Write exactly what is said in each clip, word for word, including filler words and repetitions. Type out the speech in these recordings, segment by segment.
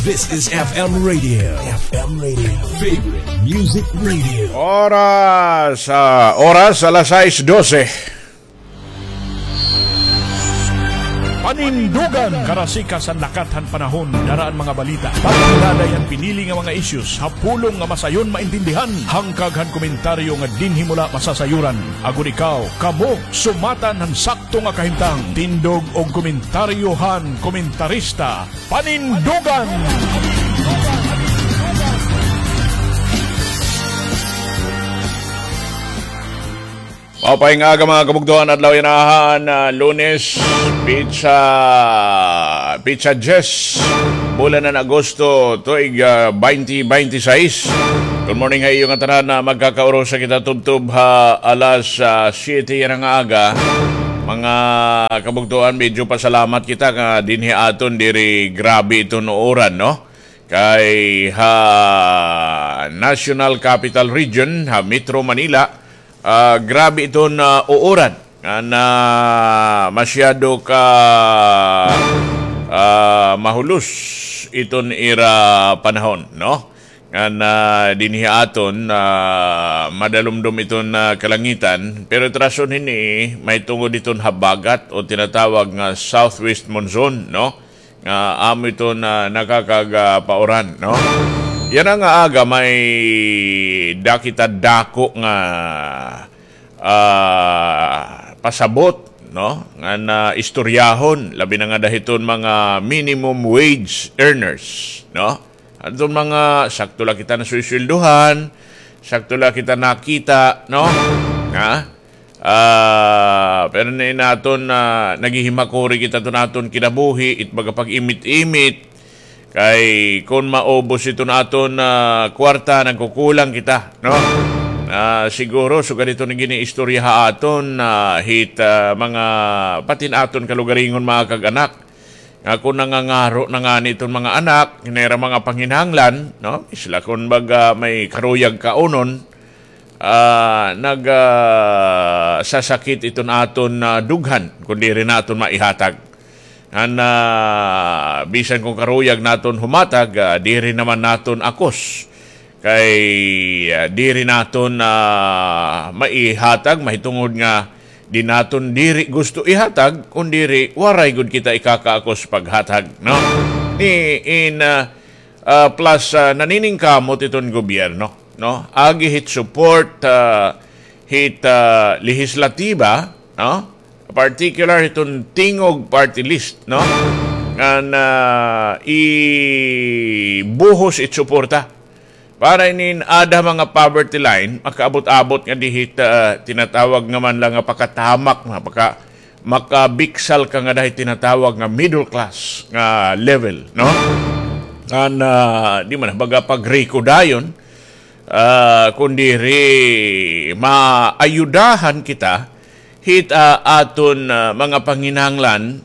This is F M Radio. F M Radio. Favorite Music Radio. Oras, ah, oras alas sais dose. Panindugan, karasikas han lakat han panahon, dara an mga balita. Pagkilala han pinili nga mga issues, ha pulong nga masayon maintindihan, hangkag han komentaryo nga dinhi mo la masasayuran. Agod ikaw, kamo, sumatan han sakto nga kahimtang. Tindog og komentaryo han komentarista. Panindugan! Maupay nga aga, mga kabugtoan, adlaw yana han, ah, Lunes, pitsa, pitsa diyes, bulan han Agosto, tuig, ah, twenty twenty-six. Good morning ha iyo ngatanan, ah, magkakaurusa kita tubtob ha alas, ah, siyete yana nga aga. Mga kabugtoan, medyo pasalamat kita nga dinhi ha aton diri grabe iton uuran, no? Kay ha National Capital Region, ha Metro Manila, ah, grabe iton, ah, uuran. Ngan masyado ka, ah, mahulos iton ira panahon, no? Ngan dinhi ha aton, ah, madalumdom iton, ah, kalangitan, pero it rason hini mahitungod iton habagat o tinatawag nga southwest monsoon, no? Nga amo iton nakakagpauran, no? Yana nga aga may da kita dako nga, ah, pasabot, no? Ngan istoryahon, labi na ngada hiton mga minimum wage earners, no? Adton mga sakto la kita nasusuweldohan, sakto la kita nakita, no? Ha? Ah, pero ini aton, ah, naghihimakuri kita hiton aton kinabuhi, it baga pag-imit-imit. Kay kon maubos iton aton, ah, kwarta, nagkukulang kita, no? Ah, siguro, sugad hiton giniistorya ha aton, ah, hit, ah, mga, pati an aton kalugaringon, mga kag-anak. Nga kon nangangaro na ngani iton mga anak, hini ira mga panginahanglan, no? Sila kon baga may karuyag kaunon, ah, nag, ah, sasakit iton aton, ah, dughan, kon diri naton maihatag. Ngan, ah, bisan kon karuyag naton humatag, ah, diri naman naton akos. Kay, ah, diri naton, ah, maihatag, mahitungod nga di naton diri gusto ihatag, kon diri waray gud kita ikakaakos paghatag, no? Ni in, ah, ah, plus, ah, naniningkamot iton gobyerno, no? Agi hit support, ah, hit, ah, lehislatiba, no? Particular hiton Tingog Party List, no? Ngan, ah, ibuhos it suporta. Para inin ada mga poverty line, makaabot-abot ngadi hit, ah, tinatawag nga man la nga pakatamak, nga paka-, makabiksal ka ngada hit tinatawag nga middle class nga level, no? Ngan, ah, di man baga pagriko dayon, ah, kon diri maayudahan kita hit, ah, aton, ah, mga panginahanglan,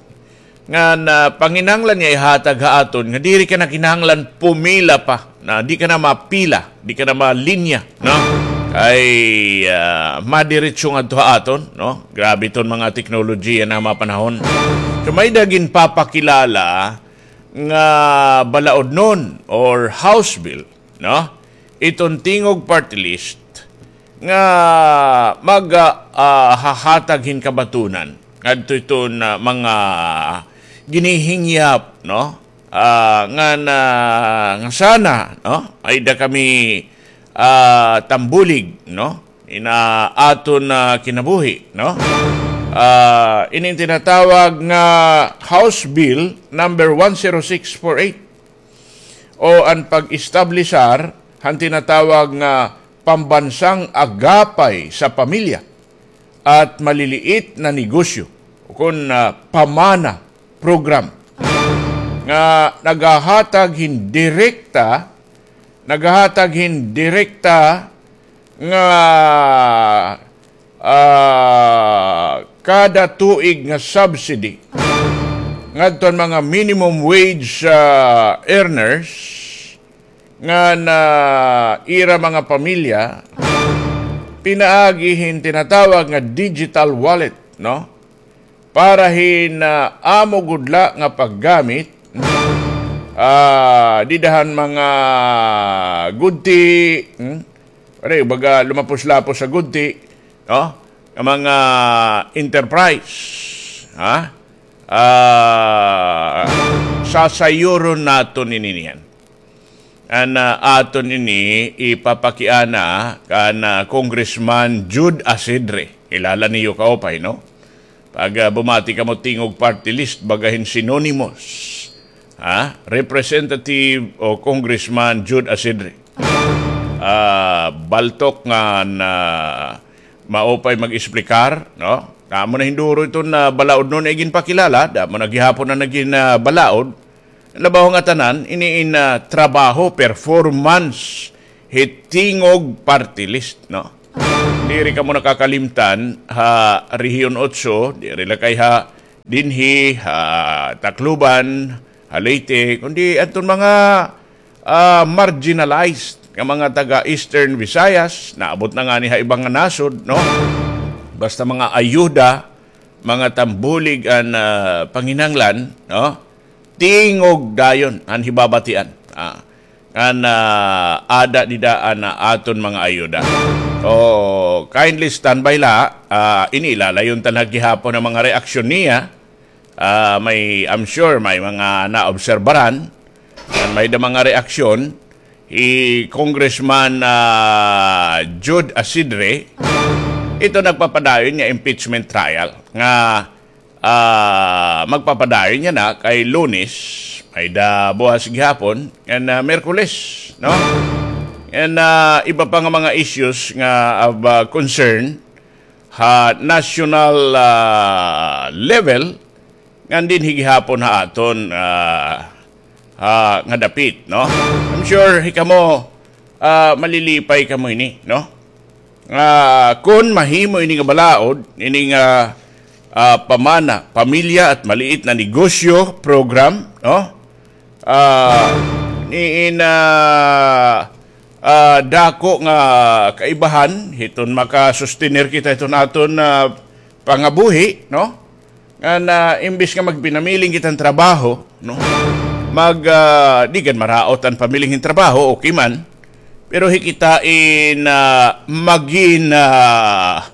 ngan, ah, panginahanglan nga ihatag ha aton, nga diri ka na kinahanglan pumila pa, na di ka na mapila, di ka na malinya, no? Kay, ah, madiretso ngadto ha aton, no? Grabe iton mga teknolohiya yana nga mga panahon. So, may-ada ginpapakilala nga balaodnon or House Bill, no? Iton Tingog Party List nga mag, ah, ah, hahatag hin kabatonan ngadto hiton, ah, mga ginihingyap, no? Ah, ngan, ah, nga sana, no? May-ada kami, ah, tambulig, no? Hit aton, ah, kinabuhi, no? Ah, ini an tinatawag nga House Bill number one zero six four eight. O an pag-establisar han tinatawag nga Pambansang Agapay sa Pamilya at Maliliit na Negosyo, ukon, ah, PAMANA program, nga naghahatag hin direkta, naghahatag hin direkta nga, ah, kada tuig nga subsidy ngadto han mga minimum wage, ah, earners ngan ira mga pamilya pinaagi hin tinatawag nga digital wallet, no? Para hin, ah, amo gud la nga paggamit, ah, dida han mga gudti, hmm? Pare, baga lumapos-lapos ha gudti, no? Nga mga enterprise, ha? Ah, sasayuron naton ini niyan. An, ah, aton ini ipapakiana kan, ah, Congressman Jude Asidre. Kilala niyo kaupay, no? Pag, ah, bumati kamo tingog party list, baga hin synonymous. Ha? Representative o Congressman Jude Asidre. Ah, baltok nga na maupay mag-esplikar, no? Amo na hin duro iton, ah, balaod no na iginpakilala, damo na gihapon na nagin, ah, balaod. Labaw nga tanan, ini in, ah, trabaho, performance, hit tingog party list, no? Diri kamo nakakalimtan ha Rehiyon Otso, diri la kay ha dinhi, ha Tacloban, ha Leyte, kundi adton mga, ah, marginalized nga mga taga Eastern Visayas, naabot na ngani ha iba nga nasod, no? Basta mga ayuda, mga tambulig an, ah, panginahanglan, no? Tingog dayon an hibabatian. Ah, ngan, ah, ada dida an, ah, aton mga ayuda. So, kindly standby la. Ah, ini ilalayon ta na gihapon an mga reaksyon niya. Ah, may, I'm sure may mga naobserbaran. Ngan may da mga reaksyon. Hi Congressman, ah, Jude Asidre, ito nagpapadayon nga impeachment trial nga ah, magpapadayon yana kay Lunes, may da buwas gihapon, ngan, ah, Miyerkules, no? Ngan, ah, iba pa nga mga issues nga of, ah, concern ha national, ah, level, ngan dinhi gihapon ha aton, ah, ah, nga dapit, no? I'm sure hikamo, ah, malilipay kamo ini, no? Ah, kun mahimo ini nga balaod, ini nga, ah, pamana, pamilya at maliit na negosyo program, no? Ah, ni in, ah, ah, dako nga kaibahan, hiton makasustener kita hiton aton, ah, pangabuhi, no? Ngan, ah, imbis nga magpinamiling kita hin trabaho, no? Mag, ah, di gad maraot an pamiling hin trabaho, okay man. Pero hi kita in, ah, magin, ah,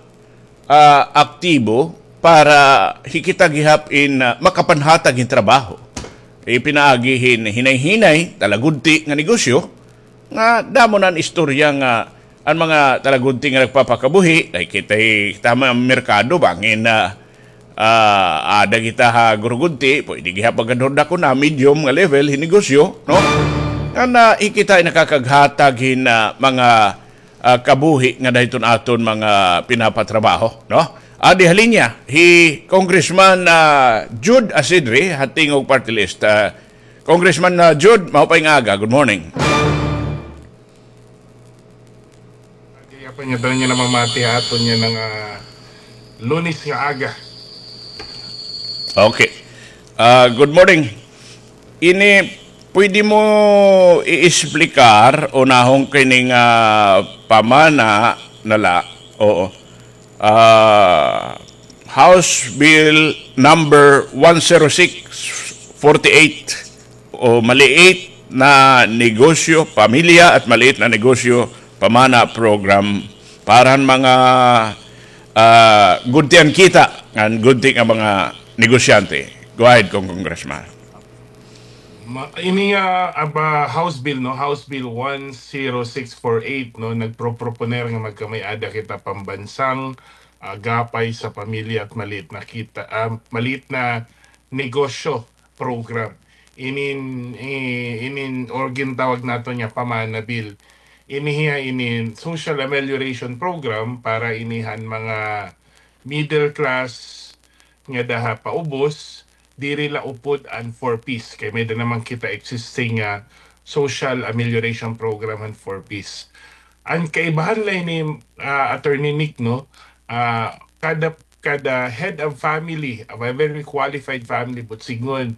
ah, aktibo para hi kita gihap in, ah, makapanhatag hin trabaho. Ipinaagi hin hinay-hinay, talagudti nga negosyo, nga damo na an istorya nga an mga talagudti nga nagpapakabuhi, nakikita hi kita ha merkado, bangin na, ah, ada kita ha gurugudti, pwede gihap magkadhurda ko na medium nga level hin negosyo, no? Nga na, hi kita in nakakaghatag hin, ah, mga, ah, kabuhi nga dahiton aton mga pinapatrabaho, no? Adi ha linya, hi Congressman, ah, Jude Asidre, ha Tingog Party List. Ah, Congressman, ah, Jude, maupay nga aga. Good morning. Kay apa niya daw niya namamati ha aton niya nga, ah, Lunes nga aga. Okay. Ah, good morning. Ini, pwede mo i-explicar o nahong kining, ah, pamana na la? Oo. Ah, House Bill number one zero six forty-eight o maliit na negosyo, pamilya at maliit na negosyo pamana program para han mga, ah, gudtian kita ngan gudti nga mga negosyante. Go ahead, Cong-, Congressman. Ma-, ini nga, ah, ba, House Bill, no? House Bill one zero six four eight, no? Nagpro-, proponer nga magkamay-ada kita pambansang, ah, gapay sa pamilya at maliit na kita, ah, maliit na negosyo program. Inin, i-, inin, or gintawag naton nga pamana bill. Ini hiya inin social amelioration program para ini han mga middle class nga daha paubos, diri la upod an four Ps. Kay may da naman kita existing nga social amelioration program han four Ps. An kaibahan la ini, ah, Attorney Nick, no? Ah, kada, kada head of family, of a very qualified family, but sidngon,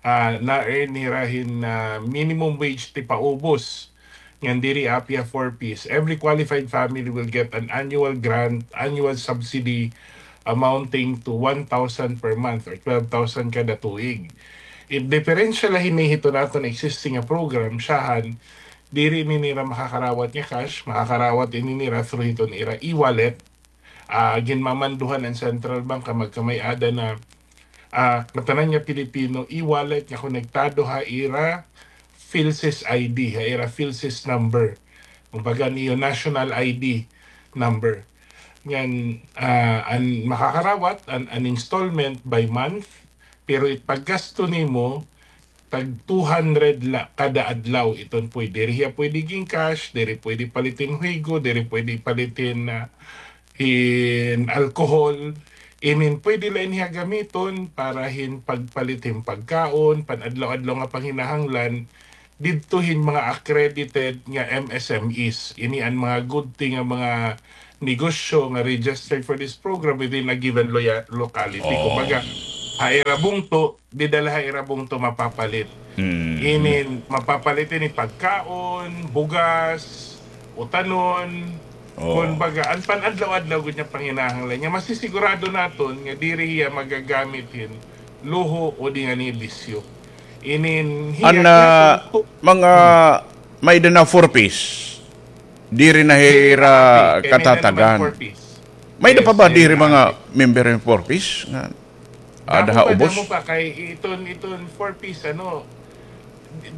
ah, na-earn hira hin, ah, minimum wage ti paubos. Ngan diri api ha four Ps. Every qualified family will get an annual grant, annual subsidy amounting to one thousand per month or twelve thousand kada tuig. It diferensya la hini hiton aton existing nga program, syahan, diri ini nira makakarawat nga cash, makakarawat ini nira through hiton ira e-wallet. Ah, ginmamanduhan an central bank nga magkamay-ada na, ah, ngatanan nga Pilipino e-wallet nga konektado ha ira PhilSys I D, ha ira PhilSys number. Kumbaga, an iyo national I D number. Ngan, ah, an makakarawat, an, an installment by month, pero it paggasto nimo, tag two hundred la kada adlaw. Iton pwede, diri hiya pwede GCash, diri pwede palit hin huigo, diri pwede palit hin, ah, hin alcohol. Inin pwede la ini hiya gamiton para hin pagpalit hin pagkaon, pan-adlaw-adlaw nga panginahanglan, didto hin mga accredited nga M S M Es. Ini an mga gudti nga mga negosyo nga registered for this program within a given loya-, locality. Oh. Kumbaga, ha ira bungto, dida la ha ira bungto mapapalit. Mm. Inin, mapapalit ini pagkaon, bugas, utanon, oh, kumbaga, an pan-adlaw-adlaw gud nga panginahanglan nga masisigurado naton nga diri hiya magagamit hin luho o di ngani bisyo. Inin hiya, an, ah, mga may-ada na four Ps. Diri na hira katatagan. May-ada pa ba diri mga member hin four Ps nga ada ha ubos? Damo pa, damo pa kay iton, iton four Ps, ano,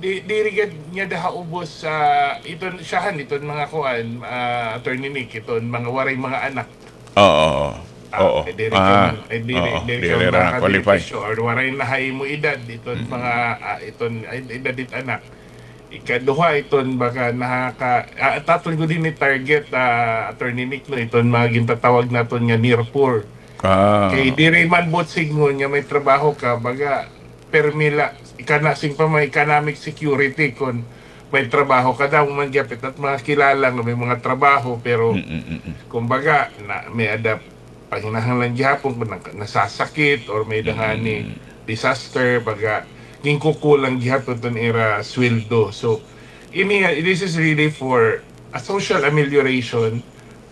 di, diri gad niya daha ubos sa iton, syahan, iton mga kuan, ah, Attorney Nick, iton mga waray mga anak. Oo, oo. Ah, oo. Eh, diri ka, eh, diri, oo, diri ka diri ra qualify. Or waray na ha imo edad, iton mga, ah, iton, ay, edad it anak. Ikaduha, iton baga nakaka-, ah, aton gud ini target, ah, Attorney Nick, no, iton mga gintatawag naton nga near poor. Ah. Kay diri man buot sidngon nga may trabaho ka, baga, permi la, ikana, siring pa man, economic security kon may trabaho ka. Damo man gihapon it at mga kilala nga may mga trabaho, pero, mm, mm, mm, mm, kumbaga, na, may-ada panginahanglan gihapon kon naka-, nasasakit or may-ada ngani, mm, disaster, baga, ginkukulang gihapon iton ira sweldo. So, ini, this is really for a social amelioration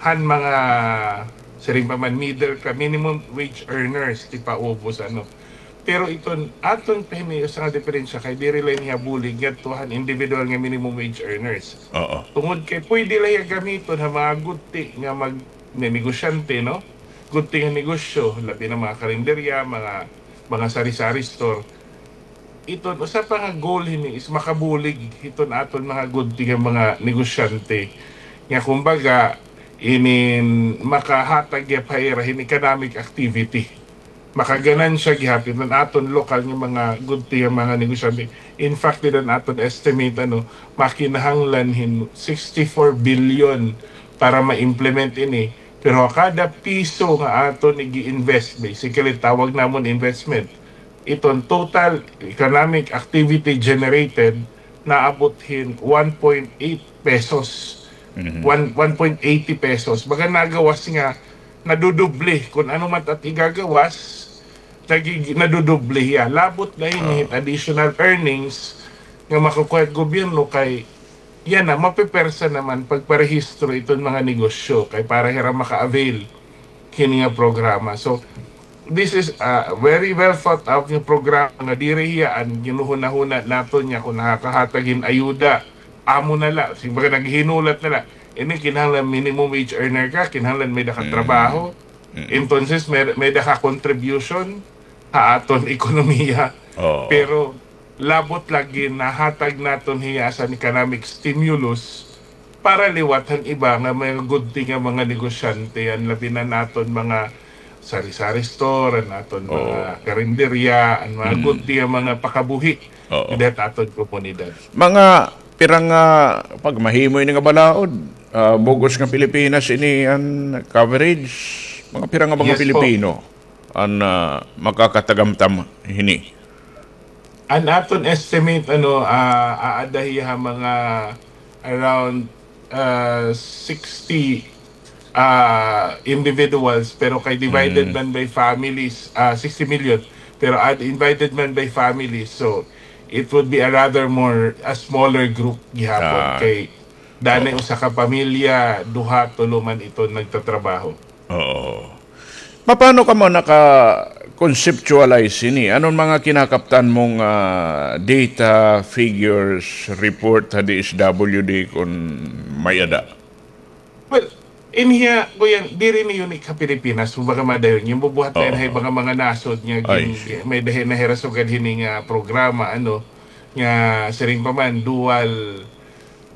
han mga, siring pa man, middle ka, minimum wage earners, tipaubos, ano. Pero iton aton pa hini usa nga diferensya kay diri la ini hiya bulig ngadto han individual nga minimum wage earners. Oo. Tungod kay pwede la hiya gamiton ha mga gudti nga mag-, nga negosyante, no? Gudti nga negosyo, labi na mga karinderya, mga, mga sari-sari store. Iton usa pa nga goal hini is makabulig hiton aton mga gudti nga mga negosyante nga kumbaga inin makahatag gihap ha ira hin economic activity. Makaganansya gihapon an aton lokal nga mga gudti nga mga negosyante. In fact, dida an aton estimate, ano, makinahanglan hin sixty-four billion para ma-implement ini. Pero kada piso nga aton ig-i-invest, basically, tawag namon investment, iton total economic activity generated, naabot hin one point eight pesos. Mhm. One, one point eighty pesos. Baga nagawas nga nadudoble. Kon ano man it igagawas, nagig-, nadudoble hiya. Labot la hini, ah, additional earnings nga makukuha it gobyerno kay yana, mapepersa naman pagparehistro iton mga negosyo kay para hira maka-avail hini nga programa. So, this is a very well thought out nga programa nga diri hiya an ginhuhunahuna naton nga kon nakakahatag hin ayuda, amo na la. Kumbaga, naghihinulat na la. Ini kinahanglan minimum wage earner ka, kinahanglan may-ada ka trabaho. Mm. Entonces, may, may-ada ka contribution ha aton ekonomiya. Oo. Pero labot la ginahatag naton hiya as an economic stimulus para liwat han iba nga mga gudti nga mga negosyante, an labi na an aton mga sari-sari store, an aton mga karinderya, an mga gudti nga mga pakabuhi dida ha aton komunidad. Mga pira nga, pag mahimo ini nga balaod, ah, bug-os nga Pilipinas ini an coverage, mga pira nga mga Pilipino an, ah, makakatagamtam hini? An aton estimate, ano, ah, aada hiya ha mga around, ah, sixty, ah, individuals, pero kay divided man by families, ah, sixty million, pero ad-, divided man by families, so it would be a rather more, a smaller group gihapon kay danay usa ka pamilya, duha, tulo man iton nagtatrabaho. Oo. Paano kamo naka-, conceptualize ini? Ano an mga kinakaptan mong, ah, data, figures, report ha D S W D kon may-ada? Well, in hiya, kuya, diri ini unique ha Pilipinas. Kumbaga, madayon, ginbubuhat na ini ha iba nga mga nasod nga may-ada hira sugad hini nga programa, ano, nga siring pa man, dual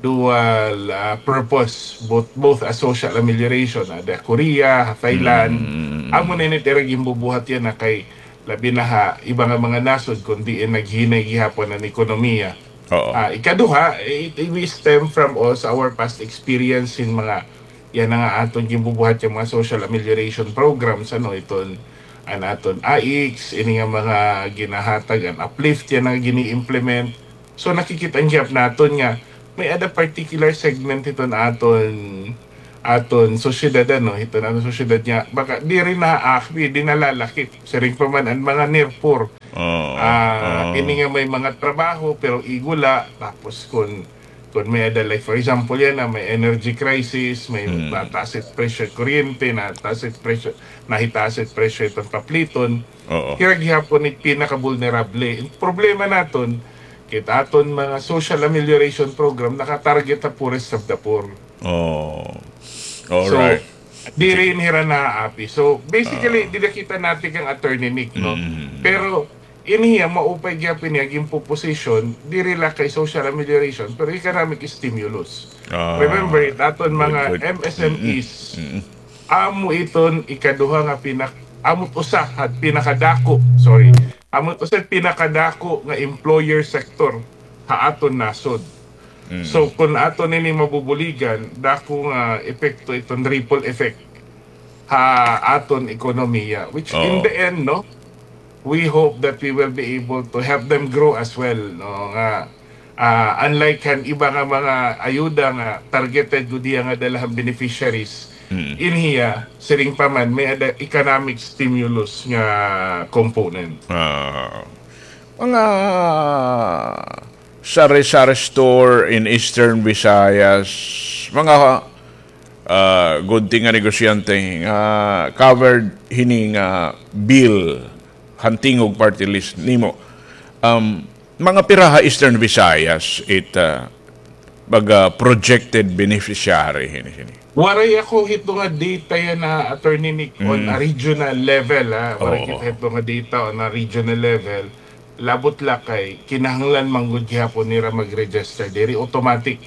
dual, ah, purpose, both, both as social amelioration, ada ha Korea, ha Thailand. Amo na ini it ira ginbubuhat yana kay labi na ha iba nga mga nasod kon diin naghinay gihapon an ekonomiya. Ah, ikaduha, it, it, we stem from also our past experience hin mga, yana nga aton ginbubuhat nga mga social amelioration programs, ano, iton, an aton AICS, ini nga mga ginahatag, an uplift yana nga gini-implement. So, nakikit-an gihap naton nga may-ada particular segment hiton aton, aton sosyedad, ano, hiton aton sosyedad nga baka diri naakbi, di nalalakip. Siring pa man an mga near poor. Ah, ini nga may mga trabaho, pero igula, tapos kon, kon may-ada, like, for example, yana, may energy crisis, may nataas it presyo kuryente, nataas it presyo, nahitaas it presyo hiton papliton, hira gihapon it pinaka-vulnerable. An problema naton, kay it aton mga social amelioration program naka-target ha poorest of the poor. Oh. So, diri ini hira naaapi. So, basically, dida kita natikang, Attorney Nick, no? Pero, ini hiya, maupay gihapon niya, ginpoposition, diri la kay social amelioration, pero economic stimulus. Remember, it aton mga M S M Es, amo iton ikaduha nga pinak-, amo it usa ha pinakadako, sorry, amo it usa ha pinakadako nga employer sector ha aton nasod. So, kon aton ini mabubuligan, dako nga epekto iton ripple effect ha aton ekonomiya, which in the end, no, we hope that we will be able to help them grow as well, no, nga, ah, unlike han iba nga mga ayuda nga targeted gud hiya nga dala han beneficiaries, in hiya, siring pa man, may-ada economic stimulus nga component. Ah, mga sari-sari store in Eastern Visayas, mga, ah, good thing nga negosyante nga covered hini nga bill han Tingog Party List nimo. Um, mga pira ha Eastern Visayas it, ah, baga projected beneficiary hini, hini? Waray ako hito nga data yana, Attorney Nick, on a regional level, ha. Waray kita hito nga data on a regional level. Labot la kay kinahanglan man gud gihapon nira mag-register. Diri automatic.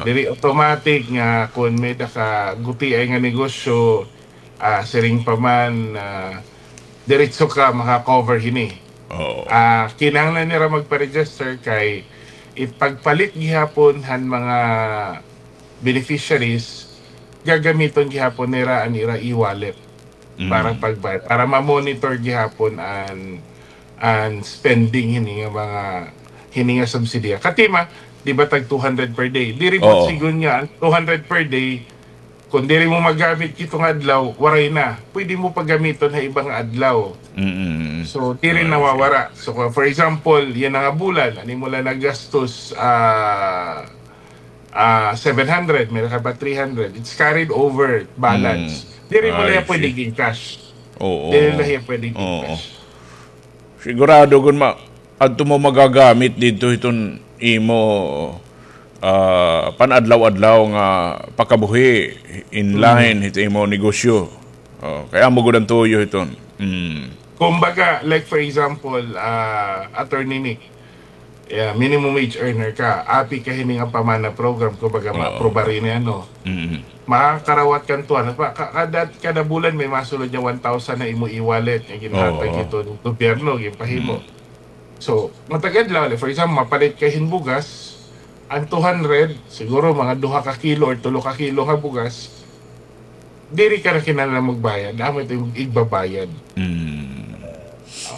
Diri automatic nga kon may-ada ka gutiay nga negosyo, ah, siring pa man, ah, diretso ka maka-cover hini. Ah, kinahanglan nira magpa-register kay it pagpalit gihapon han mga beneficiaries, gagamiton gihapon nira an ira e-wallet para pagbayad, para ma-monitor gihapon an, an spending hini nga mga, hini nga subsidiya. Katima, di ba, tag two hundred per day? Diri ba sigon nga an two hundred per day, kon diri mo magamit hito nga adlaw, waray na. Pwede mo pa gamiton ha iba nga adlaw. So, diri nawawara. So, for example, yana nga bulan, an imo la nagastos, ah, ah, seven hundred, may-ada ka pa three hundred, it's carried over balance. Diri mo la hiya pwede gi-encash. Diri la hiya pwede gi-encash. Sigurado kon ma-, adto mo magagamit didto hiton imo, ah, pan-adlaw-adlaw nga pakabuhi in line hit imo negosyo. Oh, kay amo gud an tuyo hiton. Kumbaga, like, for example, ah, Attorney Nick, minimum wage earner ka, api ka hini nga pamana program, kumbaga, ma-approve ini, ano. Makakarawat ka hin two hundred, pa, ka-, kada, kada bulan may masulod nga one thousand ha imo e-wallet nga ginhatag hiton gobyerno, ginpahimo. So, matag adlaw, like, for example, mapalit ka hin bugas, an two hundred, siguro mga duha ka kilo or tulo ka kilo nga bugas, diri ka na kinahanglan magbayad, amo ito imo igbabayad.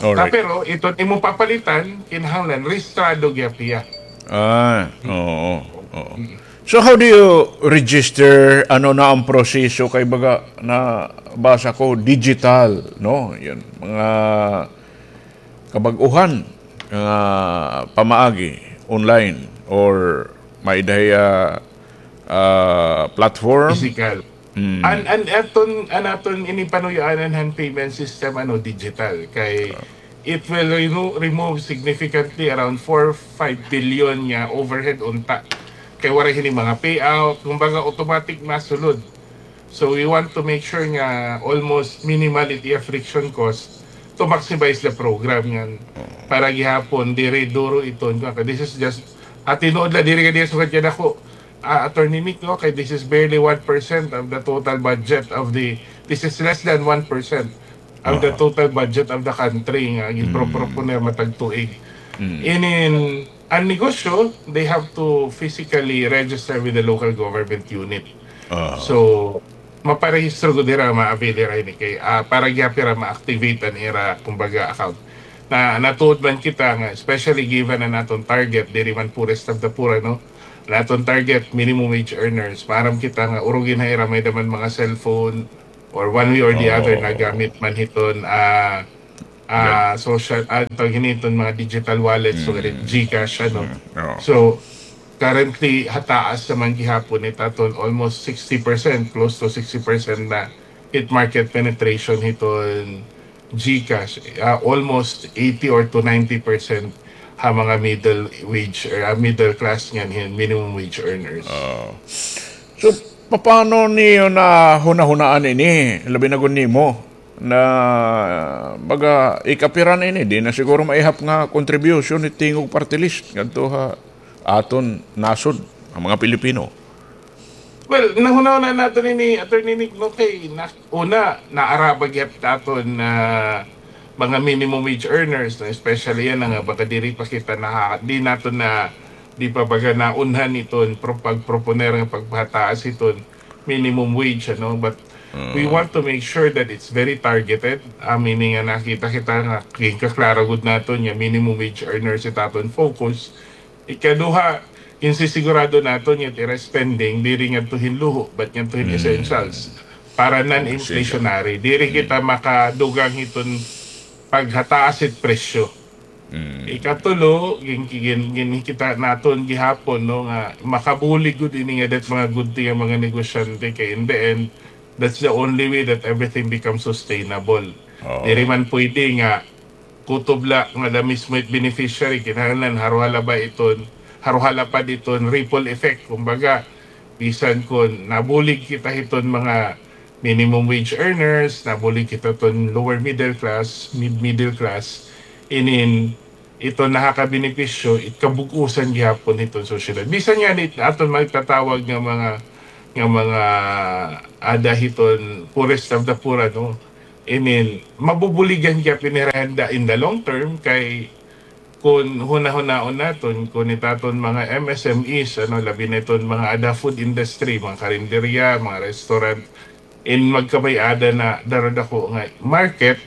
Ah, pero iton imo papalitan, kinahanglan rehistrado gihap hiya. Ah, oo, oo. So, how do you register? Ano na an proseso? Kay baga, nabasa ko, digital, no? Yan, mga kabag-uhan nga pamaagi, online, or may-ada hiya, ah, platform? Physical. Mm. An, an aton, an aton ini panuyaanan han payment system, ano, digital. Kay it will remo-, remove significantly around four, five billion nga overhead unta. Kay waray hini mga payout, kumbaga automatic masulod. So we want to make sure nga almost minimal it iya friction cost to maximize the program ngan para gihapon diri duro iton. This is just, ah, tinuod la diri nga diya sugad kay dako, ah, Attorney Nick, no? Kay this is barely one percent of the total budget of the, this is less than one percent of the total budget of the country nga ginpropropone matag tuig. Inin, an negosyo, they have to physically register with the local government unit. So, maparehistro gud hira, ma-avail hira ini kay, ah, para gihap hira ma-activate an ira, kumbaga, account. Na, natuod man kita nga, especially given an aton target, diri man poorest of the poor, ano? An aton target, minimum wage earners. Maaram kita nga, urugi na hira, may-ada man mga cellphone, or one way or the other, nagamit man hiton, ah, ah, social, ah, tawag hini, iton mga digital wallets, so, GCash, ano. So, currently, hataas naman gihapon it aton, almost sixty percent, close to sixty percent na it market penetration hiton GCash, ah, almost eighty or to ninety percent ha mga middle wage or, ah, middle class ngan hin minimum wage earners. So, paano niyo nahunahunaan ini? Labi na gud nimo na baga ikapiran ini, di na siguro maihap nga contribution ni Tingog Party List ngadto ha aton nasod, an mga Pilipino. Well, nahunahunaan naton ini, Attorney Nick, no, kay na, una, naaraba gihap it aton, ah, mga minimum wage earners, no, especially yana nga baga diri pa kita naha-, di naton na, di pa baga naunhan iton pro-, pagproponer nga pagpahataas iton minimum wage, ano, but we want to make sure that it's very targeted. Ah, meaning nga nakita kita nga ginkaklaro gud naton nga minimum wage earners it aton focus. Ikaduha, ginsisigurado naton nga it ira spending diri ngadto hin luho, but ngadto hin essentials para non-inflationary. Diri kita makadugang hiton paghataas it presyo. Ikatulo, gin-, gin-, ginkita naton gihapon, no, nga makabulig gud ini ngada it mga gudti nga mga negosyante kay in the end, that's the only way that everything becomes sustainable. Diri man pwede nga kutob la ngada mismo it beneficiary, kinahanglan haroha la ba iton, haroha la pa diton ripple effect. Kumbaga, bisan kon nabulig kita hiton mga minimum wage earners, nabulig kita ton lower middle class, mid-middle class, inin iton nakakabenepisyo, it kabug-osan gihapon hiton sosyedad. Bisan ngani aton magtatawag nga mga, nga mga ada hiton poorest of the poor, ano, inin mabubuligan gihap ini hira in the, in the long term, kay kon hunahunaon naton, kon it aton mga M S M Es, ano, labi na iton mga ada food industry, mga karinderya, mga restaurant, in magkamay-ada na daradako nga market,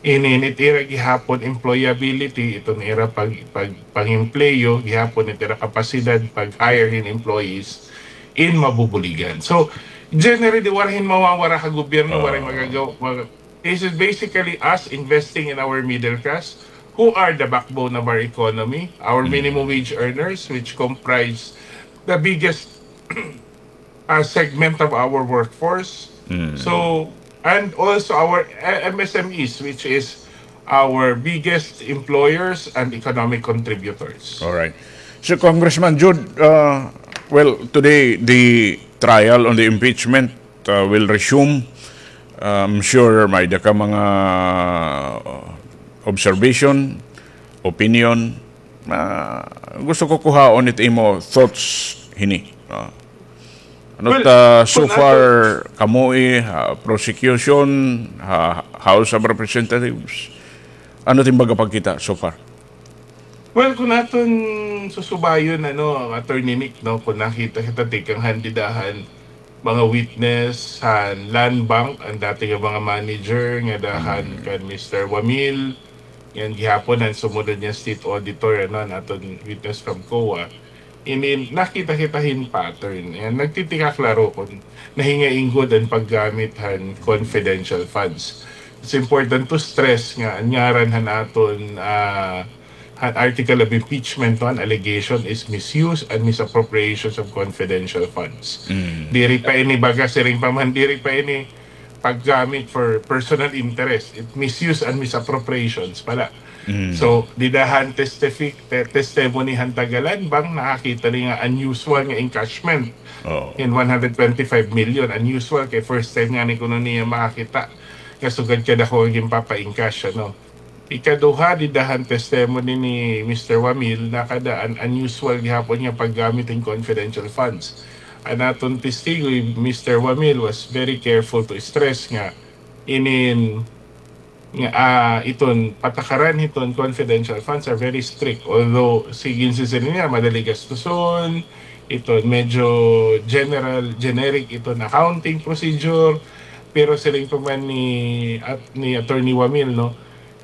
inin it ira gihapon employability, iton ira pag-, pag-, pang-empleyo, gihapon it ira kapasidad pag-hire hin employees, in mabubuligan. So, generally, waray hin mawawara ha gobyerno, waray magagawa, mag-, this is basically us investing in our middle class, who are the backbone of our economy, our minimum wage earners, which comprise the biggest, uh, segment of our workforce. So, and also our, uh, M S M Es, which is our biggest employers and economic contributors. All right. So, Congressman Jude, uh, well, today the trial on the impeachment, uh, will resume. I'm sure may-ada ka mga, uh, observation, opinion. Ah, gusto ko kuhaon it imo thoughts hini. Ah. Ano ta, so far, kamo, eh, ha, prosecution, ha, House of Representatives, ano it im baga pagkita so far? Well, kon aton susubayon, ano, Attorney Nick, no, kon nakita kita tikang han dida han mga witness han Land Bank, an dati nga mga manager ngada han kan Mister Wamil, ngan gihapon an sumunod nga state auditor, ano, an aton witness from COA. Ini nakita kita hin pattern. Ngan nagtitikaklaro kon nahingain gud an paggamit han confidential funds. It's important to stress nga an ngaran han aton, ah, han article of impeachment, no, an allegation is misuse and misappropriations of confidential funds. Mm. Diri pa ini, baga siring pa man, diri pa ini paggamit for personal interest. It misuse and misappropriations pala. Mm. So, dida han testifi-, te-, testimony han tagalan, bang nakakita ini nga unusual nga encashment. Oo. In one hundred twenty-five million, unusual kay first time ngani kuno niya makakita nga sugad kadako nga ginpapa-encash, ano. Ikaduha, dida han testimony ni Mister Wamil, nakada-an unusual gihapon nga paggamit hin confidential funds. An aton testigo, Mister Wamil was very careful to stress nga inin nga, ah, iton patakaran hiton confidential funds are very strict. Although, sige, siring niya, madali gastuson, iton medyo general, generic iton accounting procedure, pero siring pa man ni, at, ni Attorney Wamil, no,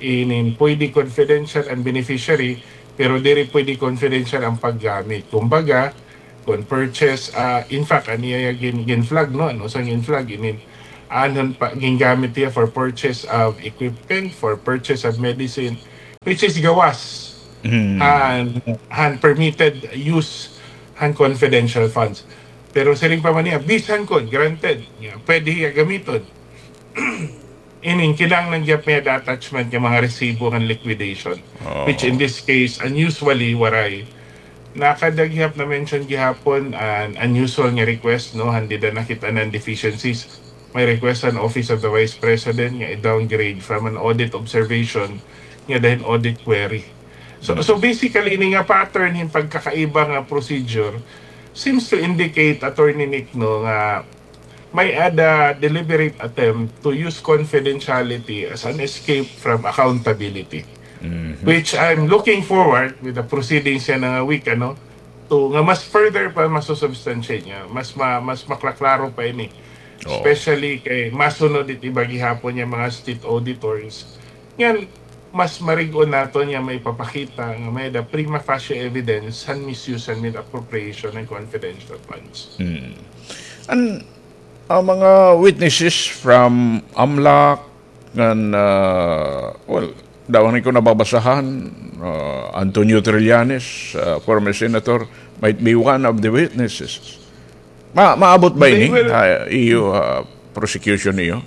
inin pwede confidential an beneficiary, pero diri pwede confidential an paggamit. Kumbaga, kon purchase, ah, in fact, an iya gin-, gin-flag, no? Ano sang gin-flag, inin, anhon pa, gingamit hiya for purchase of equipment, for purchase of medicine, which is gawas Mm. han, han permitted use han confidential funds. Pero siring pa man niya, bisan kon granted, nga pwede hiya gamiton. Inin, kinahanglan gihap may-ada attachment nga mga resibo han liquidation, Oo. which in this case, unusually, waray. Nakada gihap na-mention gihapon an unusual nga request, no, han dida nakit-an an deficiencies. May request han Office of the Vice President nga i-downgrade from an audit observation ngada hin audit query. So, Mm. so basically, ini nga pattern hin pagkakaiba nga procedure seems to indicate, Attorney Nick, no, nga may-ada deliberate attempt to use confidentiality as an escape from accountability. Mhm. Which I'm looking forward with the proceedings yana nga week, ano, to, nga mas further pa masusubstantiate niya, mas ma-, mas maklaklaro pa ini. Oo. Especially kay masunod it iba gihapon nga mga state auditors. Ngan, mas marig-on naton nga maipapakita nga may-ada prima facie evidence han misuse han misappropriation han confidential funds. Hmm. An, an mga witnesses from AMLAC, ngan, ah, well, damo ko nababasahan, ah, Antonio Trillanes, ah, former senator, might be one of the witnesses. Ma-, maabot ba ini, ah, iyo, ah, prosecution niyo?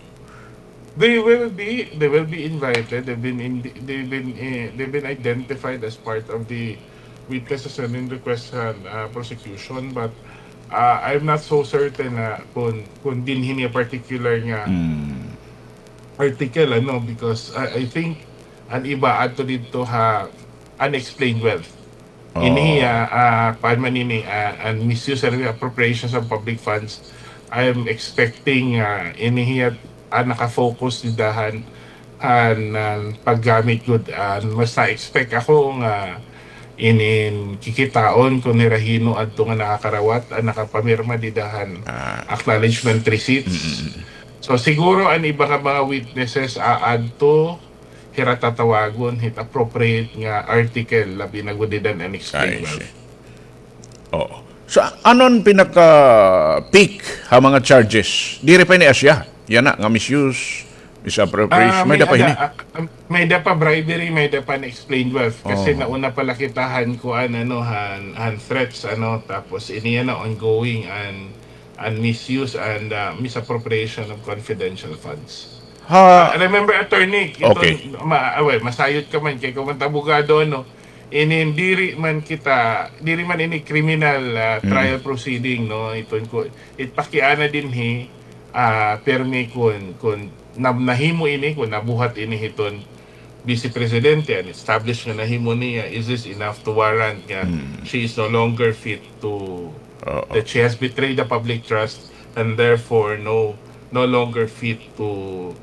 They will be, they will be invited. They've been in, they've been, eh, they've been identified as part of the witnesses and in request han, ah, prosecution, but, ah, I'm not so certain na kon, kon dinhi niya particular nga Mm. article, ano, because I, I think an iba adto didto ha unexplained wealth. Oo. Ini, ah, ah, kuan man ini, ah, an misuse and appropriations of public funds. I am expecting, ah, ini hiya, ah, naka-focus dida han, han, ah, paggamit gud, ah, mas na-expect ako nga inin kikitaon kon hira hin-o adto nga nakakarawat, ah, nakapamirma dida han Ah. acknowledgement receipts. Mm-mm. So, siguro an iba nga mga witnesses aadto, hira tatawagon hit appropriate nga article, labi na gud dida han unexplained wealth. Oo. So, ano an pinaka-peak ha mga charges? Diri pa ini asya. Yana nga misuse, misappropriation. Ah, may-ada pa hini? Ah, ah, may-ada pa bribery, may-ada pa unexplained wealth. Kasi nauna pa la kita han kuan, ano, han, han threats, ano, tapos ini yana ongoing an, an misuse and, ah, misappropriation of confidential funds. Ha. Ah, remember, attorney, iton, ma-, ah, well, masayod ka man kay ikaw man it abogado, ano. Inin diri man kita, diri man ini criminal, ah, trial proceeding, no? Iton ko, it pakiana dinhi, ah, pirmi kon, kon na-, nahimo ini, kon nabuhat ini hiton Vice Presidente, and established nga nahimo niya, is this enough to warrant nga she is no longer fit to, that she has betrayed the public trust and therefore no, no longer fit to,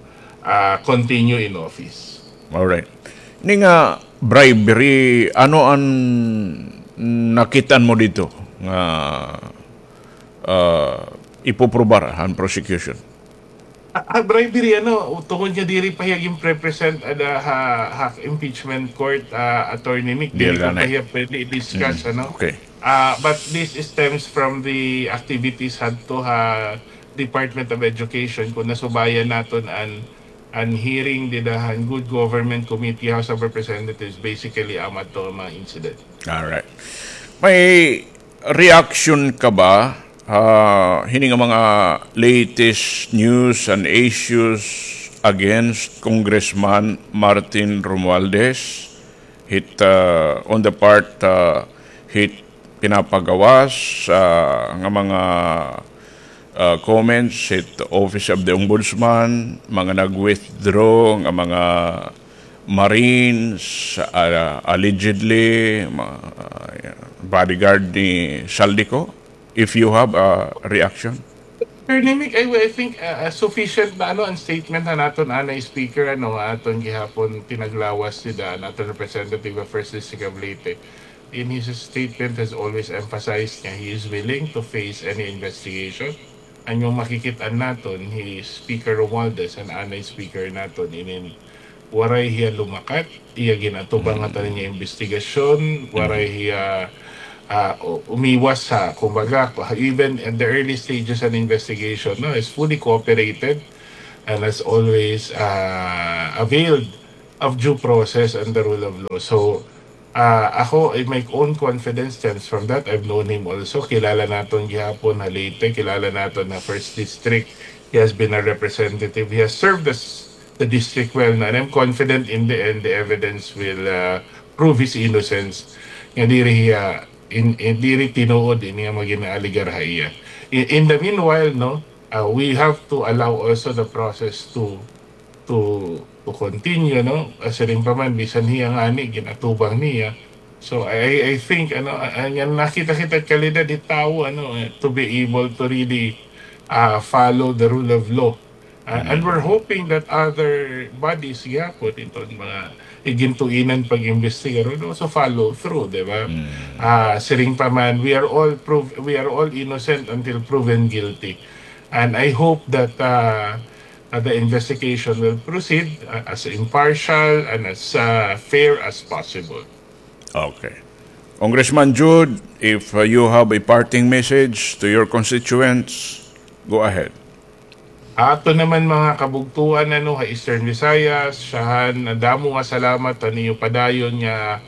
ah, continue in office? Alright. Ini nga bribery, ano an nakit-an mo didto nga, ah, ipoprobar han prosecution? Ah, ah, bribery, ano, tungod nga diri pa hiya ginpre-present ada ha, ha impeachment court, ah, Attorney Nick, diri pa hiya pwede i-discuss, ano? Okay. Ah, but this stems from the activities hadto ha Department of Education, kon nasubayan naton an an hearing dida han Good Government Committee, House of Representatives, basically, amo adto an mga incident. Alright. May reaction ka ba, ah, hini nga mga latest news and issues against Congressman Martin Romualdez? Hit, ah, on the part, ah, hit pinapagawas, ah, nga mga, ah, comments hit Office of the Ombudsman, mga nag-withdraw nga mga Marines, ah, allegedly, ma-, ah, bodyguard ni Zaldy Co, if you have a reaction. Sir Nimic, I, I think, uh, uh, sufficient na, ano, an statement han aton anay speaker, ano, aton gihapon pinaglawas dida an aton representative of First District of Leyte. In his statement has always emphasized nga he is willing to face any investigation. An iyo makikit-an naton, hi Speaker Romualdez, an anay speaker naton, inin waray hiya lumakat, iya gin-atubang ngatanan nga imbestigasyon, waray hiya, ah, u-, umiwas ha, kumbaga, even at the early stages an investigation, no, is fully cooperated and has always, ah, availed of due process and the rule of law. So, ah, ako, in my own confidence stems from that. I've known him also. Kilala naton gihapon ha Leyte, kilala naton ha First District. He has been a representative. He has served as the district well, no? And I'm confident in the end, the evidence will, uh, prove his innocence. Nga diri hiya, in, in, diri tinuod ini nga mga ginaalegar ha iya. In, in the meanwhile, no, uh, we have to allow also the process to, to, to continue, no? Uh, siring pa man, bisan hiya ngani, gin-atubang niya. So, I, I think, ano, uh, uh, nga nakita kita kalidad it tawo, ano, uh, to be able to really, uh, follow the rule of law. Uh, and we're hoping that other bodies gihapon, iton mga igintuinan pag-imbestigar, will also follow through, di ba? Ah, siring pa man, we are all prov-, we are all innocent until proven guilty. And I hope that, uh, uh, the investigation will proceed, uh, as impartial and as, uh, fair as possible. Okay. Congressman Jude, if, uh, you have a parting message to your constituents, go ahead. Aton naman mga kabugtoan, ano, ha Eastern Visayas, syahan, damo nga salamat han iyo padayon nga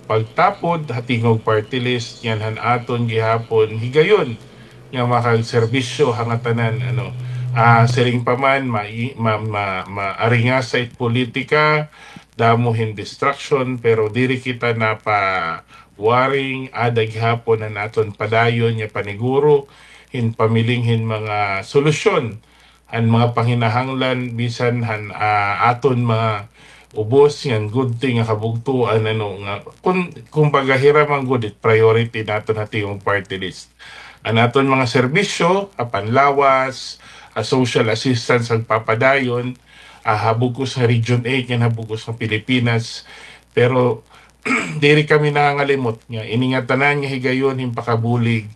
pagtapod ha Tingog Party List, ngan han aton gihapon higayon nga makagserbisyo ha ngatanan, ano. Ah, siring pa man, ma-, ma-, ma-, maaringasa it politika, damo hin distraction, pero diri kita napawaring, ada gihapon an aton padayon nga paniguro hin pamiling hin mga solusyon han mga panginahanglan bisan han, ah, aton mga ubos ngan gudti nga kabugtoan, ano, nga kun, kumbaga, hira man gud it priority naton ha Tingog Party List. An aton mga serbisyo, ha panlawas, ha social assistance, nagpapadayon, ah, ha bug-os nga Region eight ngan ha bug-os nga Pilipinas. Pero diri kami nangangalimot nga ini ngatanan nga higayon hin pakabulig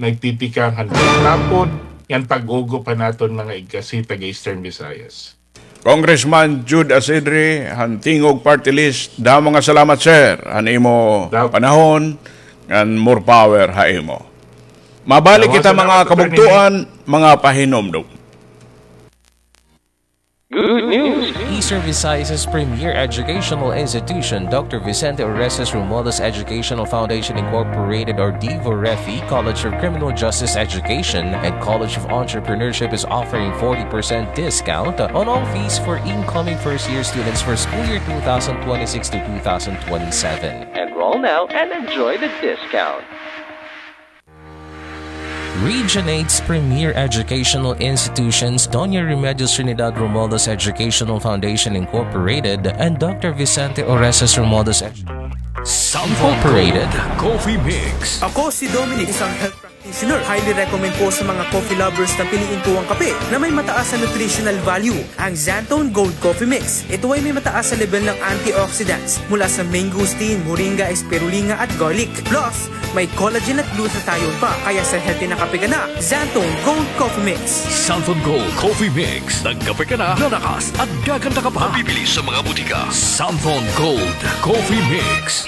nagtitikang han pagtapod ngan pag-ugop han aton mga igkasi taga Eastern Visayas. Congressman Jude Acidre, han Tingog Party List, damo nga salamat, sir, han imo panahon, ngan more power ha imo. Mabalik kita, mga kabugtoan, mga pahinumdom. Good news! Eastern Visayas' premier educational institution, Doctor Vicente Orestes Romualdez Educational Foundation Incorporated, or DVOREFI, College of Criminal Justice Education, and College of Entrepreneurship is offering forty percent discount on all fees for incoming first-year students for school year two thousand twenty-six to two thousand twenty-seven. Enroll now and enjoy the discount. Region eight's premier educational institutions, Doña Remedios Trinidad Romualdez Educational Foundation Incorporated and Doctor Vicente Orestes Romualdez Edu- Incorporated. Coffee Mix. Ako si Dominic, isang health practitioner. Highly recommend ko sa mga coffee lovers na piliin ko ang kape na may mataas na nutritional value. Ang Xanthone Gold Coffee Mix. Ito ay may mataas na level ng antioxidants mula sa mangosteen, moringa, spirulina at garlic. Plus, may collagen at glutathione pa, kaya sa healthy na kape ka na, Xanthone Gold Coffee Mix. Xanthone Gold Coffee Mix. Nagkape ka na, lalakas at gaganda ka pa. Mabibili sa mga butika. Xanthone Gold Coffee Mix.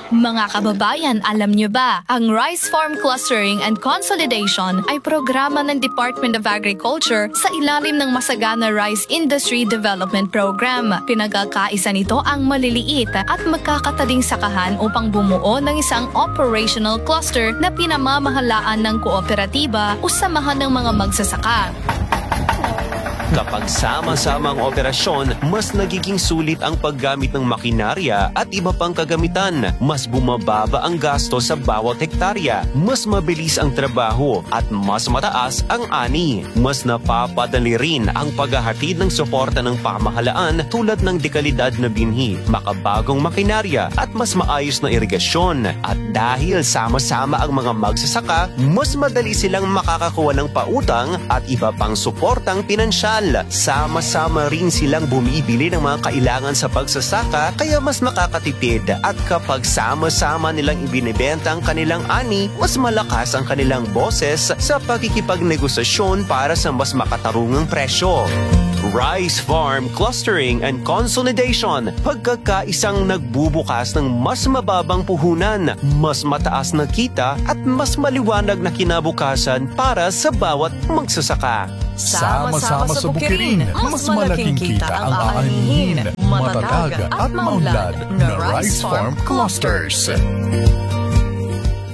Mga kababayan, alam niyo ba, ang Rice Farm Clustering and Consolidation ay programa ng Department of Agriculture sa ilalim ng Masagana Rice Industry Development Program. Pinagkakaisa nito ang maliliit at magkakataling sakahan upang bumuo ng isang operational cluster na pinamamahalaan ng kooperatiba o samahan ng mga magsasaka. Kapag sama-sama ang operasyon, mas nagiging sulit ang paggamit ng makinarya at iba pang kagamitan. Mas bumababa ang gasto sa bawat hektarya, mas mabilis ang trabaho, at mas mataas ang ani. Mas napapadali rin ang paghahatid ng suporta ng pamahalaan tulad ng dekalidad na binhi, makabagong makinarya, at mas maayos na irigasyon. At dahil sama-sama ang mga magsasaka, mas madali silang makakakuha ng pautang at iba pang suportang pinansyal. Sama-sama rin silang bumibili ng mga kailangan sa pagsasaka, kaya mas makakatipid. At kapag sama-sama nilang ibinebenta ang kanilang ani, mas malakas ang kanilang boses sa pakikipagnegosasyon para sa mas makatarungang presyo. Rice Farm Clustering and Consolidation, pagkakaisang nagbubukas ng mas mababang puhunan, mas mataas na kita, at mas maliwanag na kinabukasan para sa bawat magsasaka. Sama-sama sa bukirin, mas malaking kita ang aanhin. Matatag at maunlad na Rice Farm Clusters.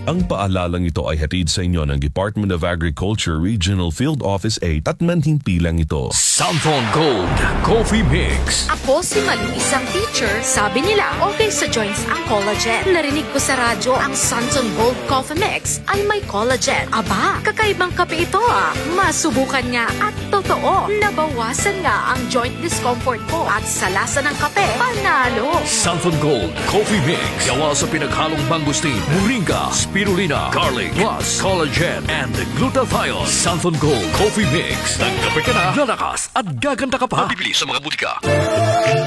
Ang paalalang ito ay hatid sa inyo ng Department of Agriculture Regional Field Office eight at manhimpilang ito. Santhon Gold Coffee Mix. Ako si Malu, isang teacher. Sabi nila, okay sa joints ang collagen. Narinig ko sa radyo ang Santhon Gold Coffee Mix ay may collagen. Aba, kakaibang kape ito ah. Masubukan nga at totoo, nabawasan nga ang joint discomfort ko at sa lasa ng kape, panalo. Santhon Gold Coffee Mix. Gawa sa pinaghalong mangosteen, moringa, spirulina, garlic, plus collagen and glutathione. Santhon Gold Coffee Mix. Nagkape ka na, lalakas at gaganda ka pa. Mabibili sa mga butika.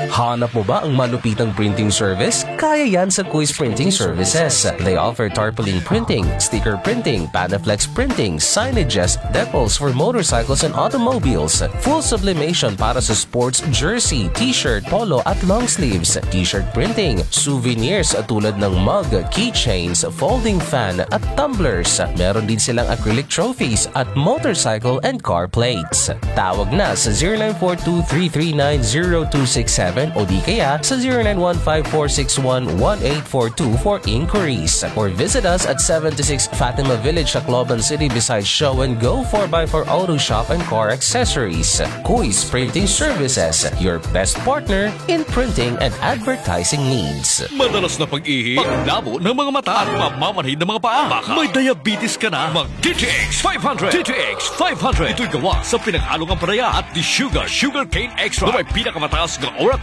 Hanap mo ba ang malupitang printing service? Kaya yan sa Kuis Printing Services. They offer tarpaulin printing, sticker printing, Panaflex printing, signages, decals for motorcycles and automobiles, full sublimation para sa sports jersey, t-shirt, polo at long sleeves, t-shirt printing, souvenirs tulad ng mug, keychains, folding fan at tumblers. Meron din silang acrylic trophies at motorcycle and car plates. Tawag na sa zero nine four two three three nine zero two six seven o di kaya sa zero nine one five four six one one eight four two for inquiries. Or visit us at seventy-six Fatima Village, Tacloban City, beside Show and Go four by four Auto Shop and Car Accessories. Kuis Printing Services, your best partner in printing and advertising needs. Madalas na pag-ihi, paglabo ng mga mata at mamamanhid ng mga paa. Baka may diabetes ka na, mag D T X five hundred. D T X five hundred. Ito'y gawa sa pinaghalong ampalaya at desugared sugarcane extract na may pinakamataas na uric